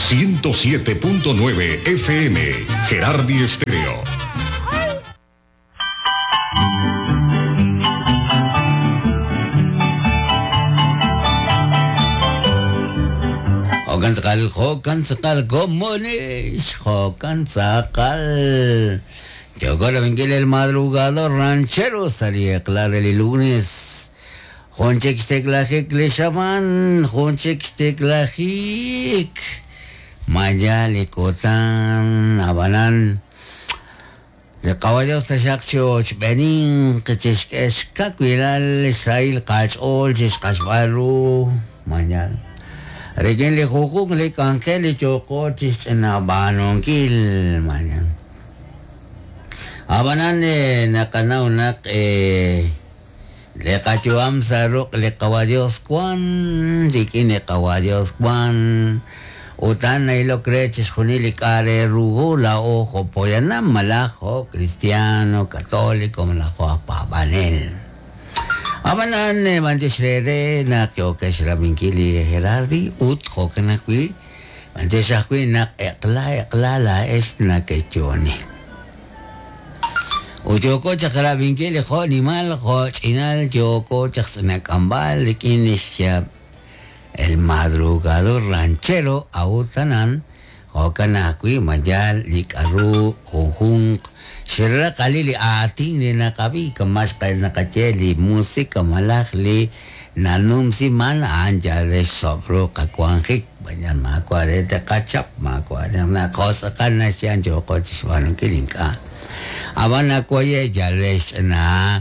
107.9 FM, Gerardi Estéreo. Jo'kan tz'aqal, jo'kan tz'aqal, komonix, jo'kan tz'aqal. Yooko rab'inkil El Madrugador Ranchero sa' li eq'la re li lunes. Jun chik xtiklajik li xamaan, jun chik xtiklajik. Ma yaal li kutan, ab'anan li Qawa' Dios taxaq choochb'eeninq, chixk'e xkawilal, xsahil qach'ool chixq'axb'al ru, ma yaal, rik'in li junjunq li k'anjel li yooqo chixch'inab'aanunkil, ma yaal. Ab'anan naqanaw naq li qayu'am sa' ruq' li Qawa' Dios wan, rik'in li Qawa' Dios wan, ut a'an na'ilok re chixjunil li k'a' re ru hu laa'o jo' poyanam malaj jo' cristiano, católico malaj jo' aj paab'anel. Ab'anan, b'antiox re re naq yookex rab'inkil li Gerardi ut jo'kan ajwi' b'antiox ajwi' naq eq'la eq'la laa'ex nakeyooni. Ut yooko chaq rab'inkil li jo' nimal jo' ch'inal yooko chaq xnak'amb'al rik'in li xyaab' El Madrugador Ranchero a'ut anan jo'kan ajwi' ma yaal li k'a'ru junjunq xraqalil li aatin li naqab'i kama' naqaye li musika malaj li nanumsiman a'an yal re xsob'ru qawanjik b'ayal maawa' re taqachap maawa' naq naqos'aqal naxye a'an yooqo chixb'aanunkil ink'a' ab'an nawaye' yal re xch'ina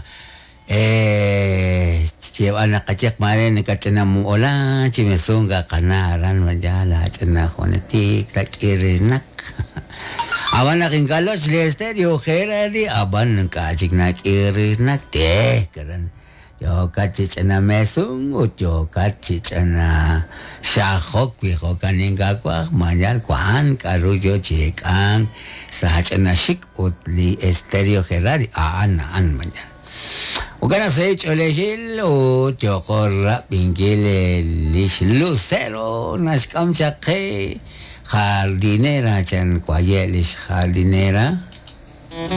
xyeeb'al naqaye maare nakach'ina mu'ola chi mesunga qana aran ma yaal aach'ina junetik nak'irinak ab'an naq ink'a' loch li estéreo Gerardi ab'an ink'a' chik nak'irinak te karan yookat chi ch'ina mesunk ut yookat chi ch'ina xajok wi jo'kan ink'a' waj ma yaal wank k'a'ru yoo chi ek'ank sa' ch'ina xik ut li estéreo Gerardi a'an a'an ma yaal. Jo'kan naq sa' ch'oolejil ut yooqo rab'inkil lix Lucero naxk'am chaq qe jardinera chan waye' lix jardinera.